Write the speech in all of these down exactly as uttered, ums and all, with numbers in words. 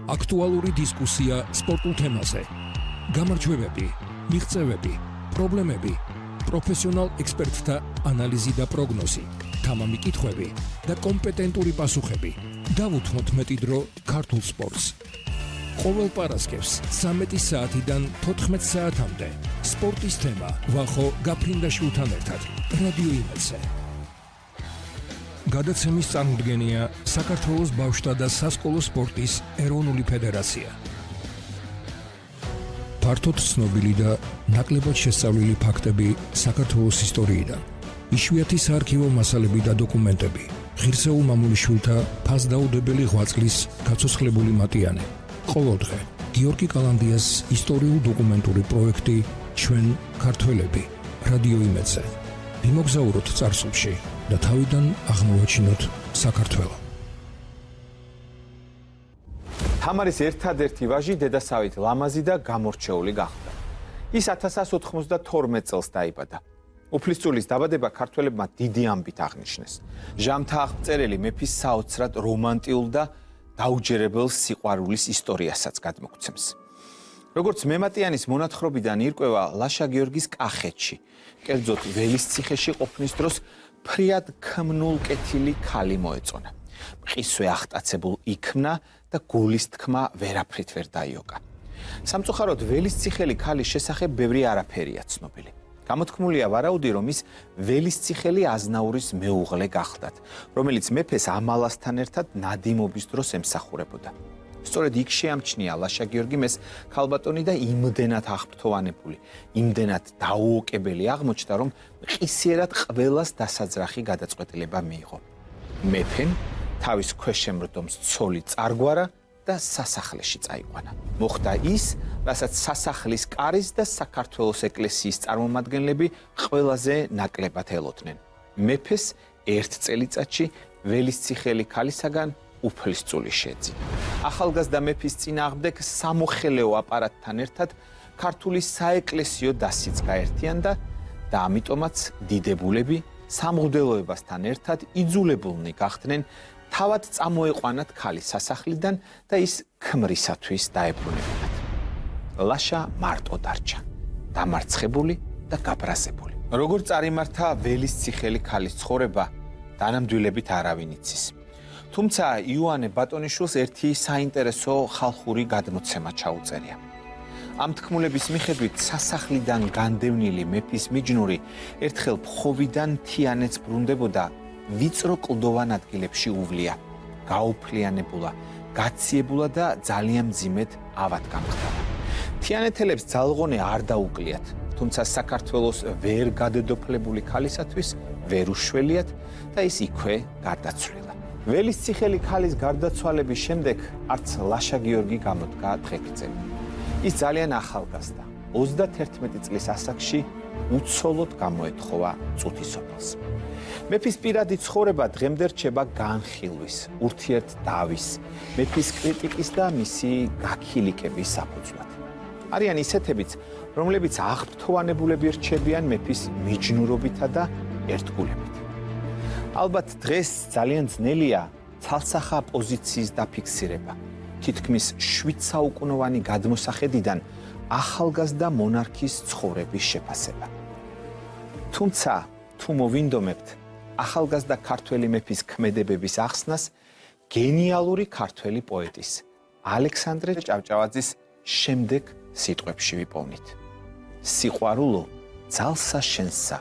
აქტუალური დისკუსია სპორტულ თემაზე. გამარჯვებები, მიღწევები, პრობლემები, პროფესიონალ ექსპერტთა ანალიზი და პროგნოზი, თამამი კითხვები და კომპეტენტური პასუხები. დავუთმოთ მეტი დრო ქართულ სპორტს. ყოველ პარასკევს ცამეტი საათიდან თოთხმეტ საათამდე სპორტის თემა ვახო გაფრინდაშვილთან ერთად რადიო იმედზე. გადაცემის წარმოდგენია საქართველოს ბავშვთა და სასკოლო სპორტის ეროვნული ფედერაცია. ფართოდ ცნობილი და ნაკლებად შესწავლილი ფაქტები საქართველოს ისტორიიდან. იშვიათი საარქივო მასალები და დოკუმენტები. ღირსეულ მამულიშვილთა ფასდაუდებელი ღვაწლის გაცოცხლებული მატიანე. ყოველდღე გიორგი კალანდიას ისტორიულ-დოკუმენტური პროექტი ჩვენ ქართველები რადიო იმედზე. ვიმოგზაუროთ წარსულში და თავიდან აღმოვაჩინოთ საქართველო. თამარის ერთადერთი ვაჟი დედასავით ლამაზი და გამორჩეული გახდა. ის ათას ათას ოთხმოცდათორმეტ წელს დაიბადა. უფლისწულის დაბადება ქართველებმა დიდი ამბით აღნიშნეს. ჟამთა აღწერელი მეფის საოცრად რომანტიულ და დაუჯერებელ სიყვარულის ისტორიასაც გადმოგცემს. როგორც მემატიანის მონათხრობიდან ირკვევა, ლაშა გიორგის კახეთში, კერძოდ ველისციხეში ყოფნის დროს ფრიად ქმნულ კეთილი ქალი მოეწონა. მყისვე აღტაცებულ იქმნა და გულის თქმა ვერაფრით ვერ დაიოკა. სამწუხაროდ ველისციხელი ქალის შესახებ ბევრი არაფერია ცნობილი. გამოთქმულია ვარაუდი, რომ ის ველისციხელი აზნაურის მეუღლე გახლდათ, რომელიც მეფეს ამალასთან ერთად ნადიმობის დროს ემსახურებოდა. სწორედ იქ შეამჩნია ლაშა გიორგიმ ეს ქალბატონი და იმდენად აღფრთოვანებული, იმდენად დაუოკებელი აღმოჩნდა, რომ მყისიერად ყველას დასაძრახი გადაწყვეტილება მიიღო. მეფემ თავის ქვეშემრდომს ცოლი წარგვარა და სასახლეში წაიყვანა. მოხდა ის, რასაც სასახლის კარის და საქართველოს ეკლესიის წარმომადგენლები ყველაზე ნაკლებად ელოდნენ. მეფეს ერთ წელიწადში ველისციხელი ქალისაგან უფლისწული შეძინა. ახალგაზრდა მეფის წინააღმდეგ სამოხელეო აპარატთან ერთად ქართული საეკლესიო დასიც გაერთიანდა და ამიტომაც დიდებულები სამღვდელოებასთან ერთად იძულებულნი გახდნენ თავად წამოეყვანათ ქალი სასახლიდან და ის ქმრისათვის დაებრუნებინათ. ლაშა მარტო დარჩა, დამარცხებული და გაბრაზებული. როგორ წარიმართა ველისციხელი ქალის ცხოვრება, დანამდვილებით არავინ იცის. თუმცა იოანე ბატონიშვილს ერთი საინტერესო ხალხური გადმოცემა ჩაუწერია. ამ თქმულების მიხედვით სასახლიდან განდევნილი მეფის მიჯნური ერთხელ ფხოვიდან თიანეთს ბრუნდებოდა, ვიწრო კლდოვან ადგილებში უვლია, გაუფლიანებულა, გაციებულა და ძალიან მძიმედ ავად გამხდარა. თიანეთელებს ძალღონე არ დაუკლიათ, თუმცა საქართველოს ვერ გადედოფლებული ქალისათვის ვერ უშველიათ და ის იქვე გარდაცვლილა. ველისციხელი ქალის გარდაცვალების შემდეგ არც ლაშა გიორგი გამოდგა დღეგრძელი. ის ძალიან ახალგაზრდა, ოცდაათერთმეტი წლის ასაკში უცოლოდ გამოეთხოვა წუთისოფელს. მეფის პირადი ცხოვრება დღემდე რჩება განხილვის, ურთიერთდავის, მეფის კრიტიკის და მისი გაქილიკების საფუძვლად. არიან ისეთებიც, რომლებიც აღფრთოვანებულები რჩებიან მეფის მიჯნურობითა და ერთგულებით. ალბათ დღეს ძალიან ძნელია ცალსახა პოზიციის დაფიქსირება, თითქმის შვიდ საუკუნოვანი გადმოსახედიდან ახალგაზრდა მონარქის ცხოვრების შეფასება. თუმცა, თუ მოვინდომებთ ახალგაზრდა ქართველი მეფის ქმედებების ახსნას გენიალური ქართველი პოეტის ალექსანდრე ჭავჭავაძის შემდეგ სიტყვებში ვიპოვნით. სიყვარულო, ძალსა შენსა,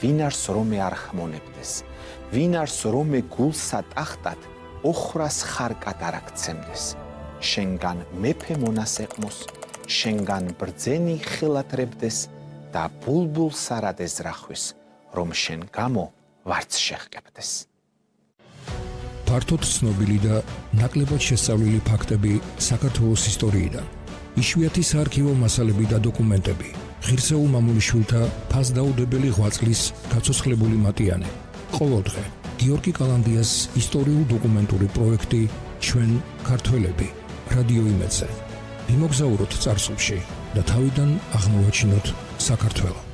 ვინ არს რომე არ ხმონებდეს, ვინ არს რომე გულსა ტახტად, ოხრას ხარკად არ აქცემდეს. შენგან მეფე მონას ეყმოს, შენგან ბრძენი ხელათრებდეს და ბულბულს არად ეზრახვის, რომ შენ გამო ვარც შეჰყებდეს. ფართოდ ცნობილი და ნაკლებად შესწავლილი ფაქტები საქართველოს ისტორიიდან. იშვიათი საარქივო მასალები და დოკუმენტები. ღირსეულ მამულიშვილთა ფასდაუდებელი ღვაწლის გაცოცხლებული მატიანე. ყოველდღე გიორგი კალანდიას ისტორიულ-დოკუმენტური პროექტი ჩვენ ქართველები რადიო იმედზე. ვიმოგზაუროთ წარსულში და თავიდან აღმოვაჩინოთ საქართველო.